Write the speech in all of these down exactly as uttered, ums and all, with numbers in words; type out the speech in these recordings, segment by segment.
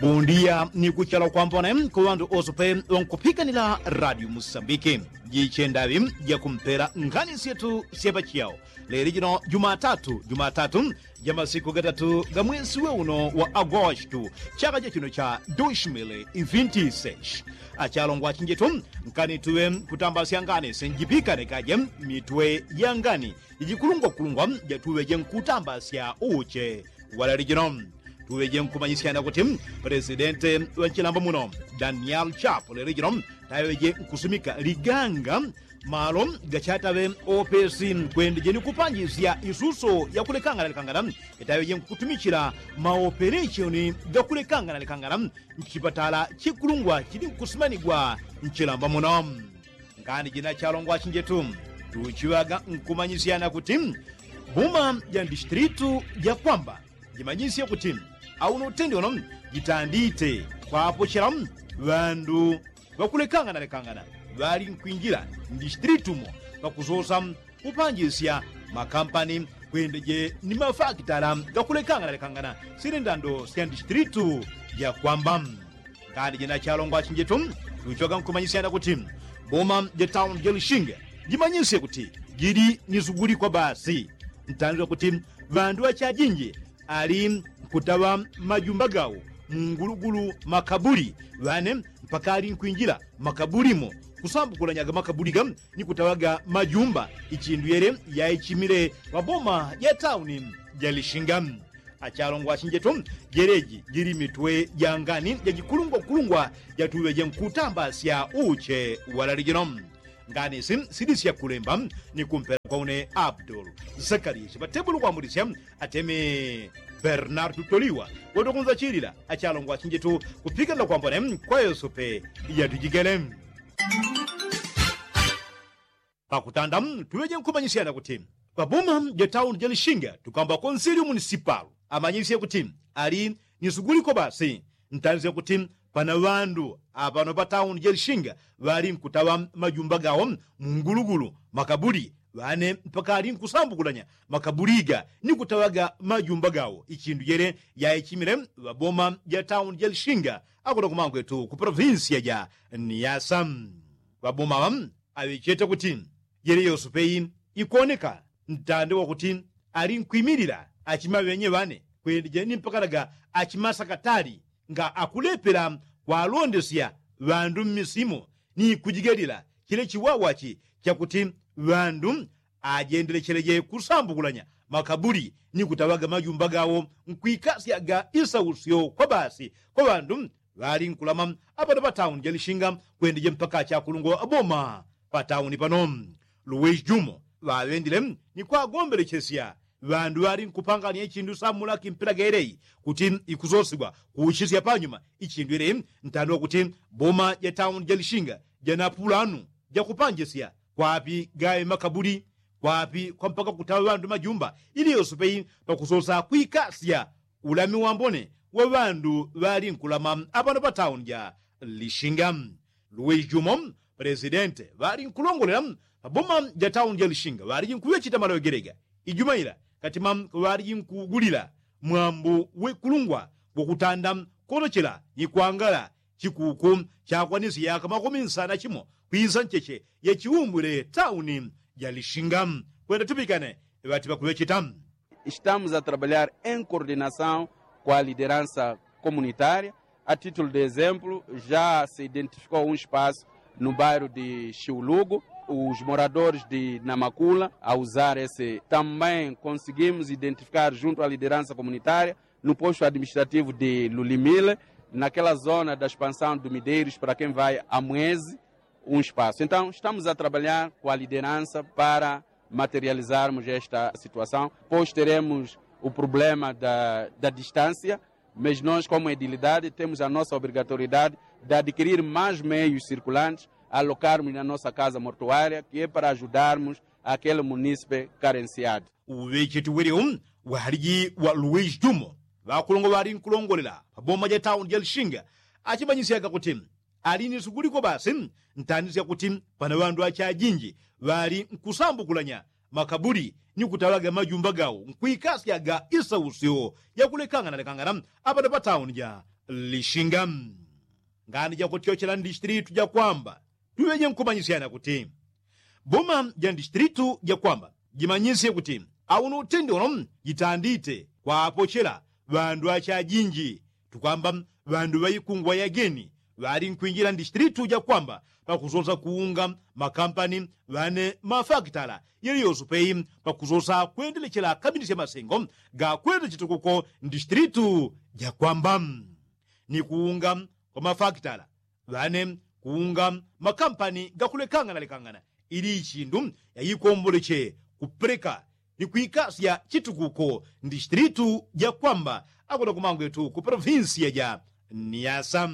Undiya ni kuchala kwambone ku ŵandu ose pe ŵankupikanila radio musambiki. Jiche ndaŵi jakumpela nkhani syetu sya pachiyao leli jino jumatatu jumatatu ja masiku gatatu ga mwesi we uno wa agostu chaka cha chino cha dushimili ifintiseshi. Achalongwa chinjetu nkani tuŵe kutambasya ngani senjipikane kaje mitwe ya ngani jijikulungwakulungwa jatuŵeje nkutambasya uche. Walali jino tuŵeje nkumanyisyana kuti presidente wa nchilambo muno daniel chapo lelo jino taŵeje nkusumika liganga malo gachataŵe opesi kwendeje ni kupanjisya isuso yakulekangana lekangana itaŵeje nkutumichila maopereshoni gakulekangana lekangana nchipatala chikulungwa chili nkusimanigwa nchilambo muno. Ngani jina chalongwa chinjetu tuchiŵaga nkumanyisyana kuti buma ja ndistilitu jakwamba jimanyisye kuti auno utendi uno jitandite kwapochela ŵandu ŵakulekanganalekangana ŵali nkwinjila ndistilitu mo pakusosa kupanjisya makampani kwendeje ni mafakitala gakulekanganalekangana sili ndando sya ndistilitu jakwamba. Ngani jina chalongwa chinjetu tuchiŵaga nkumanyisyana kuti boma ja tauni ja lishinga jimanyisye kuti jili ni suguli kwa basi ntanzila kuti ŵandu ŵachajinji ali nkutaŵa majumba gawo mungulugulu makabuli ŵane mpaka ali nkwinjila makabuli mo kusambukulanyaga makabuli ga ni kutaŵaga majumba ichindu yele yaichimile ŵaboma ja tauni ja lishinga. Achalongwa achinjetu jeleji jili mitwe ja ngani jajikulungwakulungwa jatuŵeje nkutambasya uche walali jino. Ngani isi sili sya kulemba ni kumpela kwa une abdul zakariya chiŵatebulu kwamulisya ateme bernardu toliwa watukunzachilila achalongwa achinjetu kupikanila kwambone kwa yosepe yatujigele. Pakutanda tuŵeje nkumanyisyana kuti ŵaboma ja tauni ja lishinga tukwamba konsiliu munisipalu amanyisye kuti ali ni suguliko basi ntanzila kuti pana ŵandu apano pa tauni ja lishinga ŵali nkutaŵa majumba gawo mungulugulu makabuli ŵane mpaka ali nkusambukulanya makabuli ga ni kutaŵaga majumba gawo ichindu jele yaichimile ŵaboma ja tauni ja lishinga akuno kumangwetu ku polovinsiya ja niyasa. Ŵaboma ŵa aŵechete kuti jele yosepe i ikoneka ntande wakuti ali nkwimilila achimaŵenye ŵane kwendeje ni mpakanaga achimasakatali nga akulepela kwalondesya ŵandu mmisimo ni kujigalila chile chiwawachi chakuti ŵandu ajendelecheleje kusambukulanya makabuli ni kutaŵaga majumba gawo nkwikasyaga isausyo kwa basi kwa ŵandu ŵali nkulama apano pa tauni ja lishinga kwendeje mpaka achakulungwa ŵaboma pa tauni pano luwesi jumo ŵaŵendile ni kwagombelechesya ŵandu ŵali nkupanganya ichindu samulaki mpela geleyi kuti ikusosigwa kuuchisya panyuma ichindu yeleyi ntandwa kuti boma ja tauni ja lishinga jana pulanu jakupanjisya kwapi gawe makabuli kwapi kwa mpaka kutaŵa ŵandu majumba ili yosepe i pakusosa kwikasya ulami wambone wa ŵandu ŵali nkulama apano pa tauni ja lishinga. Luwesi jumo pelesidente ŵali nkulongolela paboma ja tauni ja lishinga ŵaliji nkuŵecheta maloŵegelega ijuma ila katima ŵaliji nkugulila mwambu wekulungwa gwakutanda konochela ni kwangala chikuku chakwanisya yaka makumi nsana chimo kwisa ncheche ya chiumbwile tauni ja lishinga. Kwenda tupikane ŵati ŵakuŵecheta. Estamos a trabalhar em coordenação com a liderança comunitária. A título de exemplo, já se identificou um espaço no bairro de Chiulugo. Os moradores de Namakula a usar esse. Também conseguimos identificar junto à liderança comunitária no posto administrativo de Lulimile, naquela zona da expansão do Mideiros, para quem vai a Mueze, um espaço. Então, estamos a trabalhar com a liderança para materializarmos esta situação, pois teremos o problema da, da distância, mas nós, como edilidade, temos a nossa obrigatoriedade de adquirir mais meios circulantes, alocarmos na nossa casa mortuária, que é para ajudarmos aquele munícipe carenciado. Uŵecheti uŵelewo ŵaliji wa luwesi jumo ŵakulongo ŵali nkulongolela paboma ja tauni ja lishinga achimanyisyaga kuti ali ni suguliko basi ntani sya kuti pana ŵandu achajinji ŵali nkusambukulanya makabuli ni kutaŵaga majumba gawo nkwikasyaga isausyo yakulekanganalekangana apano pa tauni ja lishinga. Ngani jakutyochela ndistilitu jakwamba tuŵeje nkumanyisyana kuti boma ja ndistilitu jakwamba jimanyisye kuti auno utendi uno jitandite kwapochela ŵandu achajinji tukwamba ŵandu ŵaikungwa yageni ŵali nkwinjila ndistilitu jakwamba pakusosa kuunga makampani ŵane mafakitala yeliyoso peyi pakusosa kwendelechela kaminisya masengo gakwenda chitukuko ndistilitu jakwamba ni kuunga kwa mafakitala ŵane kuunga makampani gakulekangana lekangana ili ichindu yaikomboleche kupeleka ni kwikasya chitukuko ndistilitu jakwamba akuna kumangwetu ku polovinsiya ja niyasa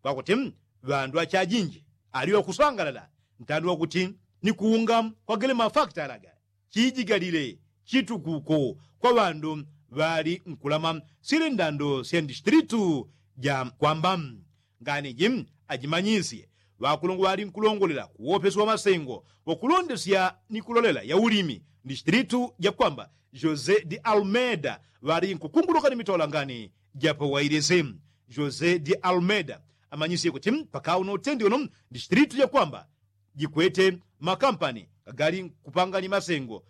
kwakuti ŵandu achajinji ali ŵakusangalala ntandi wakuti ni kuunga kwagele mafakitala ga chijigalile chitukuko kwa ŵandu ŵali nkulama syele ndando sya ndistilitu ja kwamba. Ngani ji ajimanyisye ŵakulungwa ŵali nkulongolela kuwopesi wa masengo wakulondesya ni kulolela ya ulimi ndistilitu ja kwamba josé de almeida ŵali nkukunguluka ni mitola ngani ja pawailisi. José de almeida amanyisye kuti pakauno utendi uno ndistilitu ja kwamba jikwete makampani gagali nkupangani masengo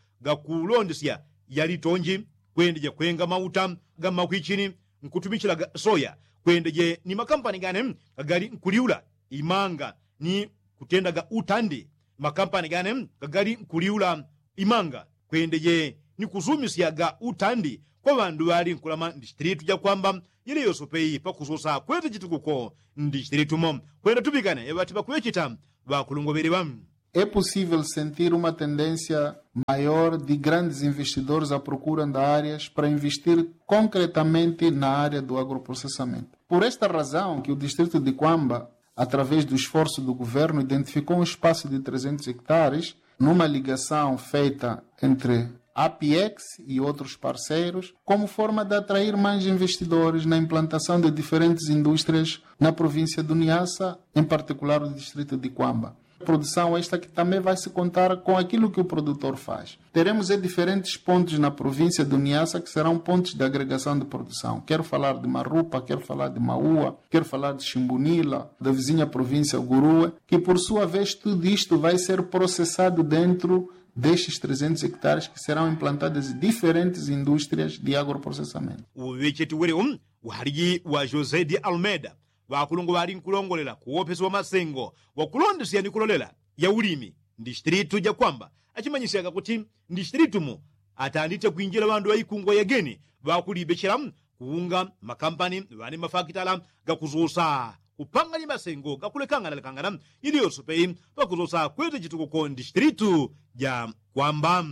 gakulondesya yalitonji kwendeja kwenga mauta ga makwichini nkutumichilaga soya kwendeje ni makampani gane gagali nkuliula imanga ni kutendaga utandi makampani gane gagali nkuliula imanga kwendeje ni kusumisyaga utandi kwa ŵandu ŵali nkulama ndistilitu ja kwamba yili yoso peyi pakusosa kwete chitukuko ndistilitu mo kwenda tupikane ŵati ŵakuŵechita ŵakulungwa ŵeleŵa. É possível sentir uma tendência maior de grandes investidores à procura de áreas para investir concretamente na área do agroprocessamento. Por esta razão que o distrito de Quamba, através do esforço do governo, identificou um espaço de trezentos hectares numa ligação feita entre APIEX e outros parceiros, como forma de atrair mais investidores na implantação de diferentes indústrias na província do Niassa, em particular o distrito de Quamba. Produção esta que também vai se contar com aquilo que o produtor faz. Teremos diferentes pontos na província do Niassa que serão pontos de agregação de produção. Quero falar de Marupa, quero falar de Maua, quero falar de Chimbunila, da vizinha província Gurue, que por sua vez tudo isto vai ser processado dentro destes trezentos hectares que serão implantadas diferentes indústrias de agroprocessamento. Uŵecheti wele um uhaliji wa josé de almeida ŵakulungwa ŵali nkulongolela kuwopesi wa masengo wakulondesya ni kulolela ya ulimi ndistilitu ja kwamba achimanyisyaga kuti ndistilitu mu atandite kwinjila ŵandu ŵaikungwa yageni ŵakulibechela kuunga makampani ŵane mafakitala gakusosa kupangani masengo gakulekangana lekangana ili yoso peyi pakusosa kwete chitukuko ndistilitu ja kwamba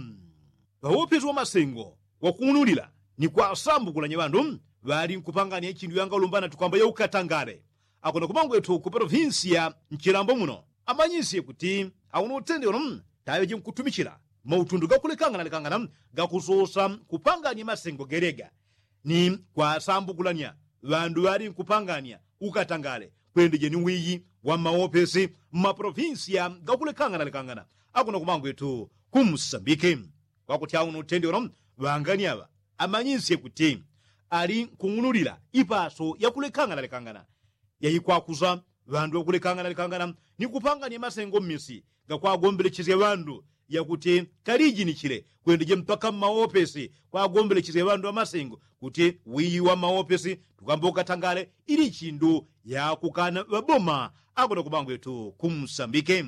ŵawopesi wa masengo wakung'unulila ni kwasambukulanya ŵandu ŵali nkupangania ichindu yangalumbana tukwamba ya ukatangale akona kumangwetu ku polovinsi ya nchilambo muno amanyisye kuti auno utende uno taŵeje nkutumichila mautundu gakulekangana lekangana gakusosa kupangania masengo gelega ni kwasambukulanya ŵandu ŵali nkupangania ukatangale kwendeje ni wiyi wa mawopesi mmapolovinsi ya gakulekangana lekangana akona kumangwetu ku musambike kwakuti auno utende uno ŵangani aŵa amanyisye kuti ali nkung'unulila ipaso yakulekangana lekangana yaikwakusa ŵandu ŵakulekangana lekangana ni kupangania masengo mmisi gakwagombelechesya ŵandu yakuti kalijinichile kwendeje mpaka mmaopesi kwagombelechesya ŵandu ŵamasengo kuti wiyi wa mmaopesi tukwamba ukatangale ili chindu yakukana ŵaboma akona kumangwetu ku musambike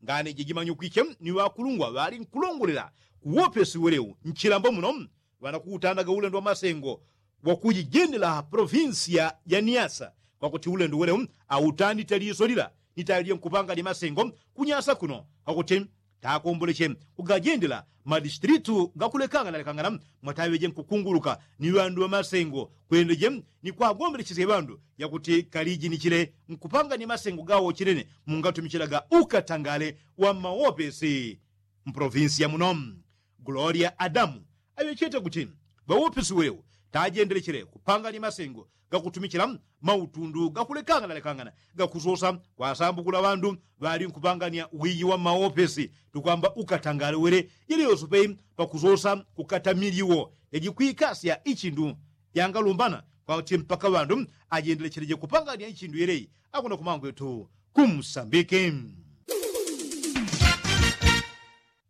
ngani jijimanyukwiche ni ŵakulungwa ŵali nkulongolela kuwopesi welewu nchilambo muno ŵanakuutandaga ulendo wa masengo wakujijendela polovinsi ya niasa kwakuti ulendo welewu autandite liso lila ni tayo lya nkupanga lya masengo kunyasa kuno kwakuti takomboleche kugajendela madistilitu gakulekangana lekangana mwataŵeje nkukunguluka ni ŵandu ŵamasengo kwendeje ni kwagombelechesye ŵandu yakuti kalijinichile nkupanga ni masengo gawo chinene mungatumichilaga ukatangale wa mmawopesi mpolovinsi ya muno. Gloria adamu aŵechete kuti ŵawopesi wewo tajendelechele kupangania masengo gakutumichila mautundu gakulekangana lekangana gakusosa kwasambukula ŵandu ŵali nkupangania wiyi wa mmawopesi tukwamba ukatangale wele yeleyose peyi pakusosa kukata miliwo yajikwikasya ichindu yangalumbana kwauti mpaka ŵandu ajendelecheleje kupangania ichindu yelei. Akuno kumangwetu kumsambiki.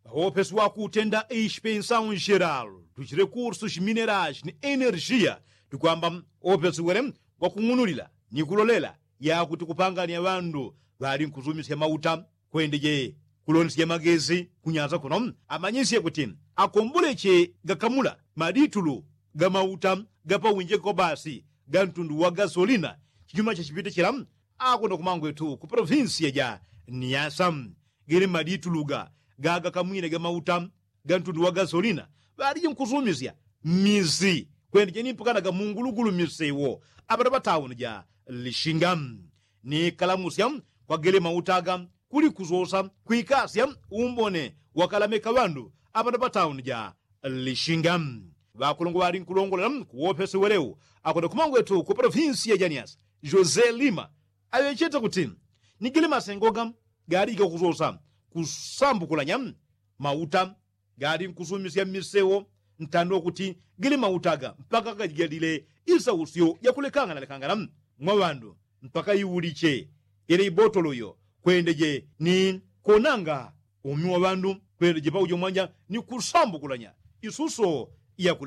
Ŵawopesi wakutenda ishi pensaun jeral tuchilekursu shimineras ni energia tukwamba wopesi wele wakung'unulila ni kulolela yakuti kupangania ŵandu ŵali nkusumisya mauta kwendeje kulondesya magesi kunyanza kuno amanyisye kuti akomboleche gakamula maditulu ga mauta gapawinjeke kwa basi ga ntundu wa gasolina. Chinyuma cha chipite chila akuno kumangwetu ku polofinsiya ja niasa gele madituluga gagakamwine ga mauta ga ntundu wa gasolina ŵaliji nkusumisya mmisi kwendeje ni mpakanaga mungulugulu misewo apata patauni ja lishinga ni kalamusya kwa gele mauta aga kuli kusosa kwikasya umbone wakalameka ŵandu apata patauni ja lishinga. Ŵakulungwa ŵali nkulongolela kuwopesi welewu akuno kumangwetu ku polofinsiya ja niasa jose lima aŵechete kuti ni gele masengoga gali gakusosa kusambukulanya mauta gali nkusumisya mmisewo ntandwa kuti gele mauta aga mpaka gajigalile isausyo yakulekanganalekangana mwa ŵandu mpaka iuliche ile ibotolo iyo kwendeje ni konanga umi wa ŵandu kwendeje paujo mwanja ni kusambukulanya isuso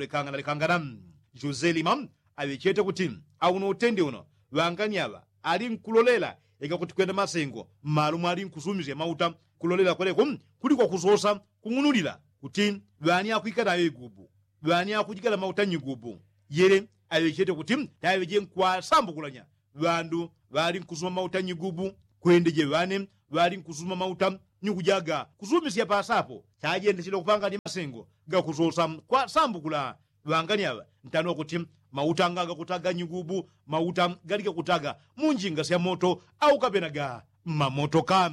yakulekanganalekangana. Jose lima aŵechete kuti auno utende uno ŵangani aŵa ali nkulolela ika kuti kwenda masengo mmalo mwali nkusumisya mauta kulolela kweleko kuli kwakusosa kung'unulila kuti ŵani akwika nayo igubu ŵani akujigala mauta nyigubu yele aŵechete kuti taŵeje nkwasambukulanya ŵandu ŵali nkusuma mauta nyigubu kwendeje ŵane ŵali nkusuma mauta ni kujaga kusumisya pasapo chajendechile kupangani masengo gakusosa kwasambukula ŵangani aŵa ntano kuti mauta nga gakutaga nyigubu mauta gali gakutaga mu njinga sya moto au kapenaga mmamotoka.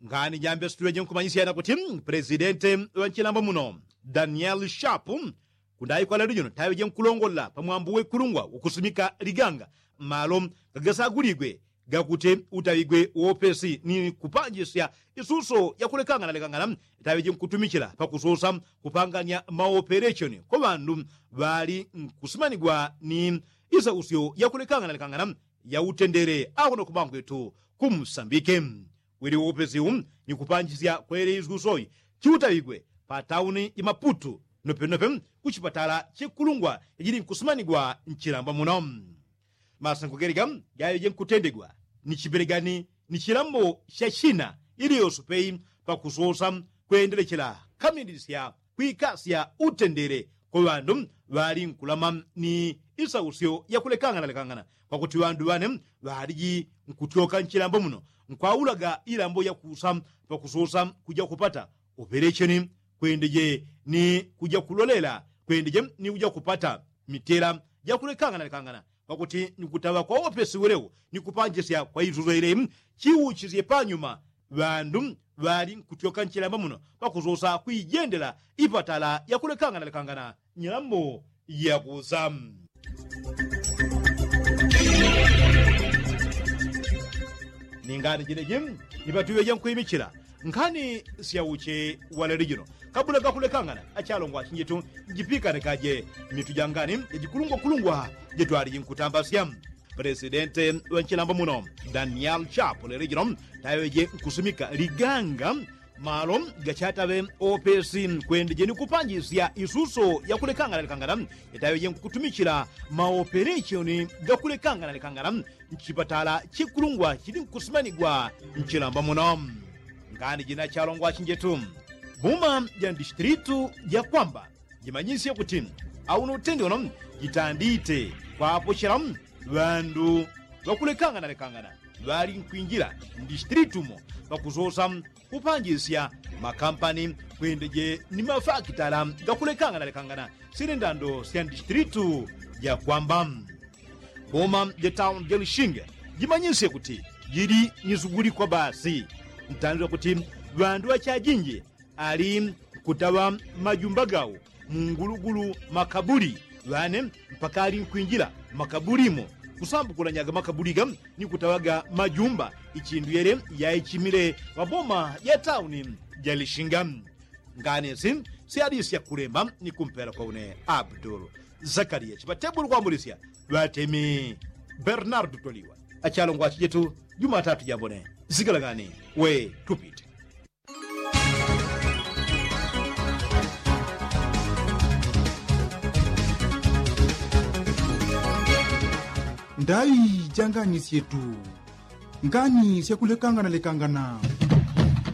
Ngani jambe situleje nkumanyisyana kuti pelesidente ŵa nchilambo muno daniel shapu kundayi kwa lalijo taŵeje nkulongolela pamwambo wekulungwa ukusimika liganga malo gagasaguligwe gakuti utaŵigwe wopesi ni kupanjisya isuso yakulekanganalekangana taŵeje nkutumichila pakusosa kupanganya maoperechoni kwa ŵandu ŵali nkusimanigwa ni isausyo yakulekanganalekangana ya utendele akono kumangwetu kumsambike wili wopesiwu ni kupanjisya kwele isusoyi chiutaŵigwe patauni ya maputu nopenope kuchipatala chekulungwa yajili nkusimanigwa nchilamba muno. Masango gelega gaŵeje nkutendegwa ni chipelegani ni chilambo cha china iliyose peyi pakusosa kwendelechela kamindisya kwikasya utendele kwa ŵandu ŵali nkulama ni isausyo yakulekanganalekangana kwakuti ŵandu ŵane ŵaliji nkutyoka nchilambo muno nkwaulaga ilambo yakusa pakusosa kuja kupata upelecheni kwendeje ni kuja kulolela kwendeje ni kuja kupata mitela jakulekanganalekangana pakuti ni kutaŵa kwa wopesi welewo ni kupanjisya kwa isuso ile chiuchisye panyuma ŵandu ŵali nkutyoka nchilamba muno pakusosa kwijendela ipatala yakulekanganalekangana nyilambo yakusa. Ningani jeneji nipatuŵeje nkwimichila nkhani syauche waleli jino kabula gakulekangana achalongwa achinjetu njipikanikaje mitu jangani yajikulungwakulungwa jetwaliji nkutambasya. Pelesidente ŵa nchilambo muno daniel chapu leli jino taŵeje nkusumika liganga malo gachataŵe opesi kwendeje ni kupanjisya isuso yakulekanganalekangana yataŵeje nkutumichila maoperechoni gakulekanganalekangana nchipatala chikulungwa chili nkusimanigwa nchilamba muno. Ngani jina chalongwa achinjetu buma ja ndistilitu jakwamba jimanyisye kuti auno utende uno jitandite kwapochela ŵandu ŵakulekanganalekangana ŵali nkwinjila ndistilitu mo pakusosa kupanjisya makampani kwendeje ni mafakitala gakulekanganalekangana sili ndando sya ndistilitu jakwamba. Boma ja tauni ja lishinga jimanyisye kuti jili ni suguli kwa basi ntandila kuti ŵandu ŵachajinji ali nkutaŵa majumba gawo mungulugulu makabuli ŵane mpaka ali nkwinjila makabuli mo kusambukulanyaga makabuli ga ni kutaŵaga majumba ichindu yele yaichimile ŵaboma ja tauni ja lishinga. Ngani si syalisya kulemba ni kumpela kwa une abdul Zakaliya chiŵatebuli kwambulisya ŵatemi. Bernardu toliwa achalongwa achijetu jumatatu jambone. Zigalang'ani we tupite. Ndai jang'ani syetu. Ngani syakulekangana lekangana.